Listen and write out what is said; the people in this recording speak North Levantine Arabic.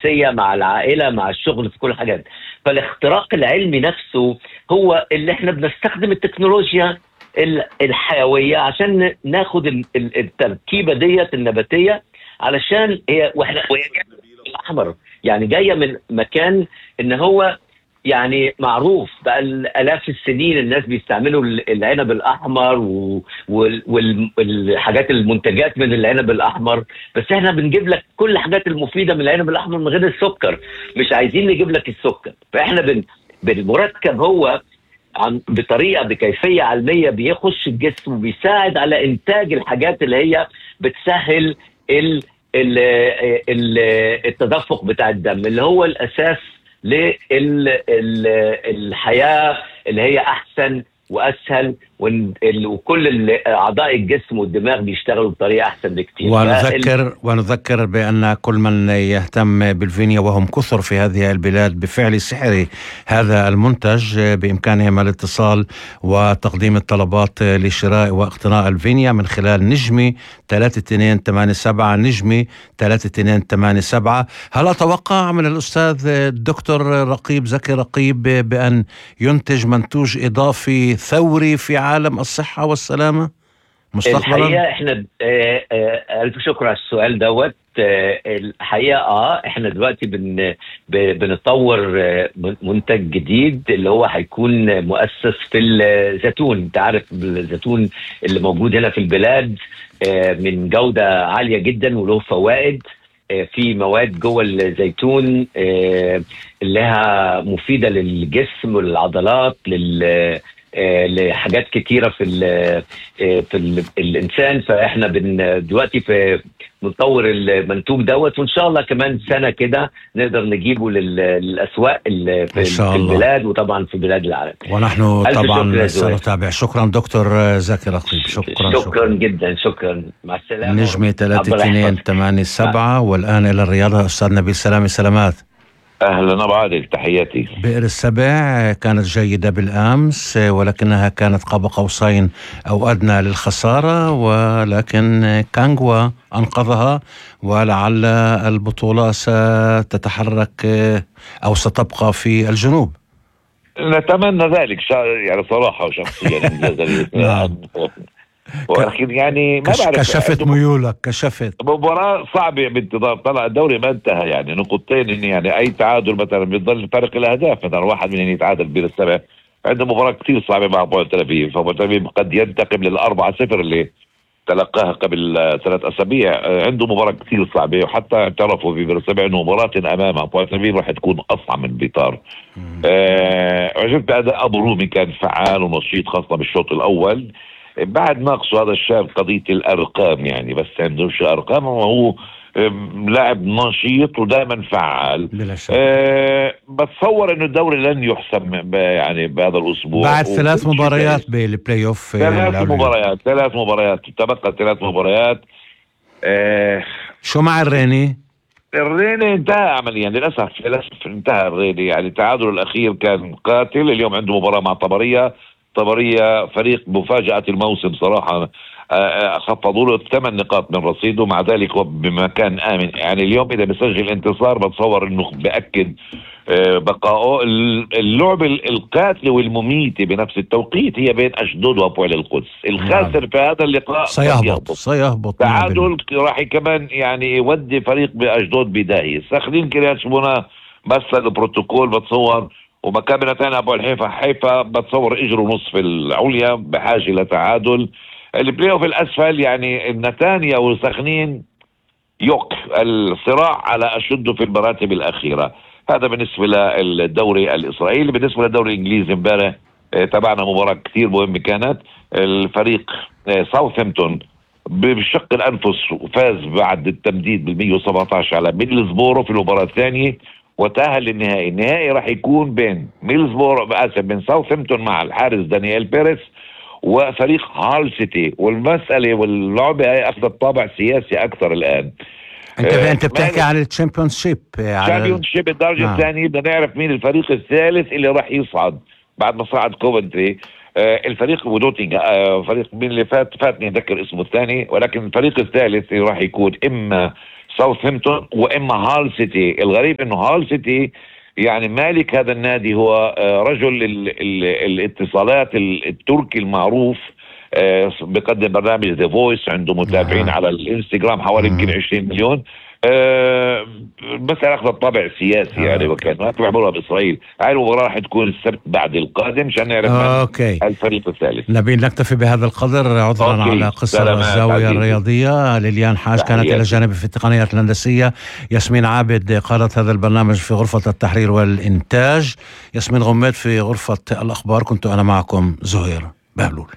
النفسية مع العائلة مع الشغل في كل حاجات. فالاختراق العلمي نفسه هو اللي احنا بنستخدم التكنولوجيا الحيوية عشان ناخد التركيبة ديت النباتية، علشان هي وهي جاية من الأحمر، يعني جاية من مكان ان هو يعني معروف بقى الآلاف السنين الناس بيستعملوا العنب الأحمر والحاجات المنتجات من العنب الأحمر. بس احنا بنجيب لك كل الحاجات المفيدة من العنب الأحمر من غير السكر، مش عايزين نجيب لك السكر. فاحنا بالمركب هو بطريقة بكيفية علمية بيخش الجسم وبيساعد على إنتاج الحاجات اللي هي بتسهل التدفق بتاع الدم، اللي هو الأساس للحياة اللي هي أحسن وأسهل، وكل أعضاء الجسم والدماغ بيشتغلوا بطريقة أحسن بكتير. ونذكر بأن كل من يهتم بالفينيا وهم كثر في هذه البلاد بفعل سحر هذا المنتج بإمكانهم الاتصال وتقديم الطلبات لشراء واقتناء الفينيا من خلال نجمي 3287 نجمي 3287. هل أتوقع من الأستاذ الدكتور رقيب زكي رقيب بأن ينتج منتوج إضافي ثوري في عالم الصحة والسلامة مستقبلا؟ الحقيقة احنا ألف شكر على السؤال دوت. الحقيقة احنا دلوقتي بنطور منتج جديد اللي هو هيكون مؤسس في الزيتون. انت عارف الزيتون اللي موجود هنا في البلاد من جودة عالية جدا وله فوائد. في مواد جوه الزيتون اللي لها مفيدة للجسم والعضلات لحاجات كتيرة في الإنسان. فإحنا دلوقتي بنطور المنتوج دوت، وإن شاء الله كمان سنة كده نقدر نجيبه للأسواق في البلاد وطبعا في بلاد العالم. ونحن طبعا سنتابع. شكرا دكتور زكي رقيب. شكرا جدا. شكرا. مع السلامة. نجمة 3287. والآن إلى الرياضة أستاذ نبيل سلامي. سلامات. أهلا أبو عادل، تحياتي. بئر السبع كانت جيدة بالأمس ولكنها كانت قاب قوسين أو أدنى للخسارة، ولكن كانغوا أنقذها، ولعل البطولة ستتحرك أو ستبقى في الجنوب. نتمنى ذلك يعني صراحة وشخصيا. ولكن يعني ما بعرف، كشفت ميولك، كشفت مباراة صعبة بانتظار. طلع الدوري ما انتهى، يعني نقطتين، يعني اي تعادل مثلا بيضل فرق الاهداف. مثلا واحد من يتعادل بين السبع، عنده مباراة كثير صعبة مع بوينت تل أبيب، فبوينت تل أبيب قد ينتقم لل4-0 اللي تلقاها قبل 3 أسابيع. عنده مباراة كثير صعبة، وحتى اعترفوا في بئر السبع انه مباراة امامها بوينت تل أبيب راح تكون اصعب من بيطار. عجبت اداء ابو رومي، كان فعال ونشيط خاصة بالشوط الاول. بعد ناقصه هذا الشاب قضية الأرقام، يعني بس عندوش أرقام، وهو لاعب نشيط ودائما فعال. بتصور انه الدوري لن يحسم يعني بهذا الأسبوع بعد 3 مباريات بالبلاي اوف. 3 مباريات تبقى 3 مباريات. شو مع الريني؟ الريني انتهى عمليا للأسف انتهى الريني. يعني التعادل الأخير كان قاتل. اليوم عنده مباراة مع طبرية فريق مفاجأة الموسم صراحة. خفضوا له 8 نقاط من رصيده، مع ذلك هو بمكان آمن. يعني اليوم إذا بيسجل انتصار بتصور إنه بأكد بقائه. اللعبة القاتلة والمميتة بنفس التوقيت هي بين أشدود وأبوال القدس. الخاسر في هذا اللقاء سيهبط. تعادل راح كمان يعني يودي فريق بأشدود بداية. ساخنين كريات شبونا بس البروتوكول بتصور، ومكابنة ثانية أبو حيفا بتصور اجروا نصف العليا بحاجة لتعادل. البلاي اوف الأسفل يعني نتانيا وسخنين يوك الصراع على أشده في المراتب الأخيرة. هذا بالنسبة للدوري الإسرائيلي. بالنسبة للدوري الإنجليزي امبارح تابعنا مباراة كتير مهمة كانت. الفريق ساوثهامبتون بشق الأنفس فاز بعد التمديد بال117 على ميدلزبورو في المباراة الثانية وتأهل للنهائي. النهائي راح يكون بين بين ساوثهامبتون مع الحارس دانيال بيريس وفريق هال سيتي. والمسألة واللعبة هي أخذت طابع سياسي أكثر الآن. انت بتحكي عن الشامبيونشيب الدرجة الثانية. بدنا نعرف مين الفريق الثالث اللي راح يصعد بعد ما صعد كوفنتري. الفريق ودوتينغ فريق مين اللي فاتني أذكر اسمه الثاني، ولكن الفريق الثالث اللي راح يكون إما ساوثهامبتون واما هال سيتي. الغريب انه هال سيتي يعني مالك هذا النادي هو رجل الاتصالات التركي المعروف، بقدم برنامج ذا فويس، عنده متابعين على الانستغرام حوالي يمكن 20 مليون. مسألة أخذ الطابع السياسي يعني، وكان ما بيعملوها بإسرائيل. هاي المباراة راح تكون السبت بعد القادم عشان نعرف الفريق الثالث. نبيل نكتفي بهذا القدر، عذرا على قصر الزاوية الرياضية. ليليان حاج كانت إلى جانب في التقنيات الهندسية، ياسمين عابد قادت هذا البرنامج في غرفة التحرير والإنتاج، ياسمين غميد في غرفة الأخبار، كنت أنا معكم زهير بهلول.